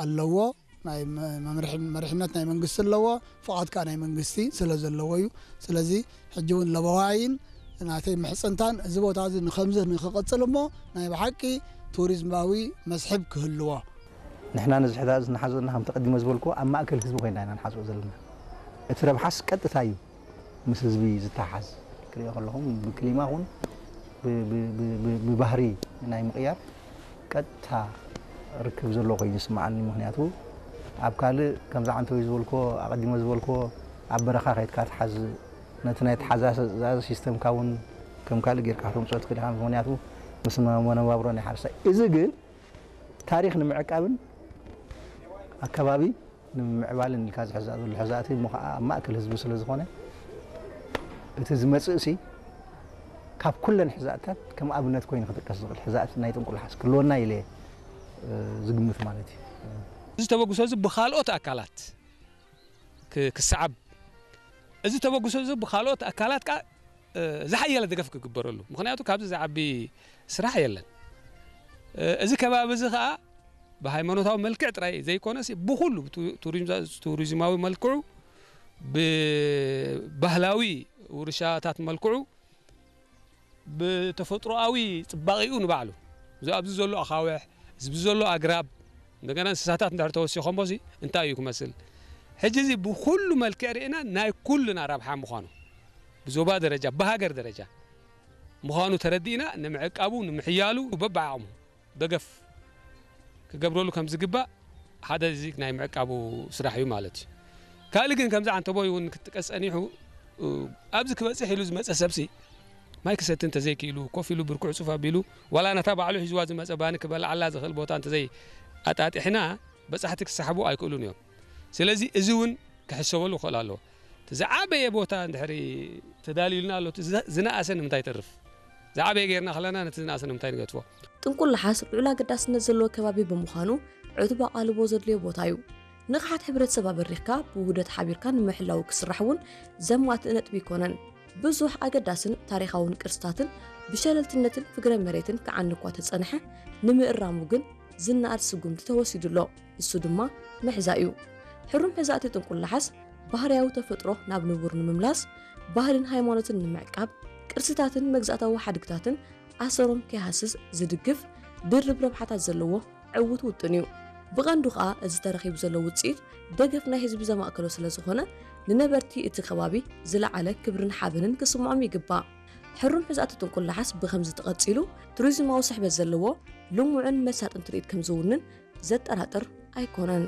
ኣለዎ። ናይ መ- መምርሒ መሪሕነት ናይ መንግስቲ ኣለዎ። ፍቓድ ከዓ ናይ መንግስቲ ስለ ዘለዎ እዩ። ስለዚ ሕጂ እውን ለበዋይን ናተይ ምሕፅንታን እዚ ቦታ እዚ ንከምዚ ንክቕፅል እሞ ናይ ብሓቂ ቱሪዝማዊ መስሕብ ክህልዎ። ንሕና ነዚ ሕዛ እዚ ንሓዞ ዘለና ከምቲ ቀዲመ ዝበልኩ ኣብ ማእከል ህዝቢ ኮይና ኢና ንሓዝኦ ዘለና። እቲ ረብሓስ ቀጥታ እዩ ምስ ህዝቢ ዝተሓዝ። ክሪኦ ከለኹም ብክሊማ ኹን ብባህሪ ናይ ምቕያር ቀጥታ ርክብ ዘሎ ኮይኑ ይስምዓኒ። ምክንያቱ ኣብ ካልእ ከምዚ ዓንተወይ ዝበልኮ ኣቐዲሞ ዝበልኮ ኣብ በረኻ ከይድካ ትሓዝ ነቲ ናይ ተሓዛዘ ሲስተምካ እውን ከም ካልእ ጌርካ ከተምፅኦ ትኽእል ኢኻ። ምክንያቱ ምስ መነባብሮ ናይ ሓረስታይ እዚ ግን ታሪኽ ንምዕቃብን ኣከባቢ ንምምዕባልን ኢልካ ዝሕዛእ ዘሎ ሕዛእቲ እሞ ከዓ ኣብ ማእከል ህዝቢ ስለ ዝኾነ እቲ ዝመፅእ ሲ ካብ ኩለን ሕዛእትታት ከም ኣብነት ኮይኑ ክጥቀስ ዝኽእል ሕዛእቲ ናይ ጥንቁላሓስ ክህልወና ኢለ ዝግምት ማለት እዩ። እዚ ተበግሶ እዚ ብካልኦት ኣካላት ክሰዓብ፣ እዚ ተበግሶ እዚ ብካልኦት ኣካላት ከዓ ዝሓየለ ደገፍ ክግበረሉ። ምክንያቱ ካብዚ ዝዓቢ ስራሕ የለን። እዚ ከባቢ እዚ ከዓ ብሃይማኖታዊ መልክዕ ጥራይ ዘይኮነስ ብኩሉ ቱሪዝማዊ መልክዑ፣ ብባህላዊ ውርሻታት መልክዑ፣ ብተፈጥሮኣዊ ፅባቂኡ ንባዕሉ እዚ ኣብዚ ዘሎ ኣኻውሕ፣ እዚ ዘሎ ኣግራብ፣ እንደገና እንስሳታት እንድሕር ተወሲኾሞ ሲ እንታይ እዩ ክመስል? ሕጂ እዚ ብኩሉ መልክዕ ርኢና ናይ ኩልና ረብሓ ምዃኑ ብዞባ ደረጃ ብሃገር ደረጃ ምዃኑ ተረዲእና ንምዕቃቡ ንምሕያሉ በብዓቕሙ ደገፍ ክገብረሉ ከም ዝግባእ ሓደ እዚ ናይ ምዕቃቡ ስራሕ እዩ ማለት እዩ። ካልእ ግን ከምዚ ዓንተቦይ እውን ክትጥቀስ ጸኒሑ ኣብዚ ክበጽሕ ኢሉ ዝመጸ ሰብሲ ማይ ክሰቲ እንተዘይክኢሉ ኮፍ ኢሉ ብርኩዕ ጹፍ ኣቢሉ ዋላ ነታ ባዕሉ ሒዝዋ ዝመጸ ባኒ ክበልዓላ ዝኽእል ቦታ እንተዘይ ኣጣጢሕና በጻሕቲ ክሰሓቡ ኣይክእሉን እዮም። ስለዚ እዚ እውን ክሕሰበሉ ክኽእል ኣለዎ። እቲ ዝዓበየ ቦታ እንድሕሪ ተዳልዩልና ኣሎ እቲ ዝነኣሰ ንምንታይ ይተርፍ? ዝዓበየ ጌርና ከለና ነቲ ዝነኣሰ ንምንታይ ንገድፎ? ጥንቁላሓስ ልዑል ኣገዳስነት ዘለዎ ከባቢ ብምዃኑ ዕቱብ ኣቓልቦ ዘድልዮ ቦታ እዩ። ንቕሓት ሕብረተሰብ ኣበሪኽካ ብውህደት ሓቢርካ ንምሕላዉ ክስራሕ እውን ዘማትእ ነጥቢ ኣይኮነን። ብዙሕ ኣገዳስን ታሪኻውን ቅርስታትን ብሸለልትነትን ፍግረ መሬትን ክዓኒ እኳ ተጸንሐ ንምእራሙ ግን ዝነኣድ ስጉምቲ ተወሲዱ ኣሎ። እሱ ድማ ምሕዛ እዩ። ሕሩም ሕዛእቲ ጥንቁላሓስ ባህርያዊ ተፈጥሮ ናብ ንቡር ንምምላስ፣ ባህልን ሃይማኖትን ንምዕቃብ፣ ቅርስታትን መግዛእታዊ ሓድግታትን ኣሰሮም ከይሃስስ ዝድግፍ ድርብ ረብሓታት ዘለዎ ዕዉት ውጥን እዩ። ብቐንዱ ከኣ እዚ ተረኺቡ ዘሎ ውጽኢት ደገፍ ናይ ህዝቢ ዘማእከሎ ስለ ዝኾነ ንነበርቲ እቲ ከባቢ ዝለዓለ ክብርን ሓበንን ክስምዖም ይግባእ። ሕሩም ሕዛእቲ ጥንቁላሓስ ብኸምዚ ተቐጺሉ ቱሪዝማዊ ስሕበት ዘለዎ ልሙዕን መሳጥን ትርኢት ከም ዝውንን ዘጠራጥር ኣይኮነን።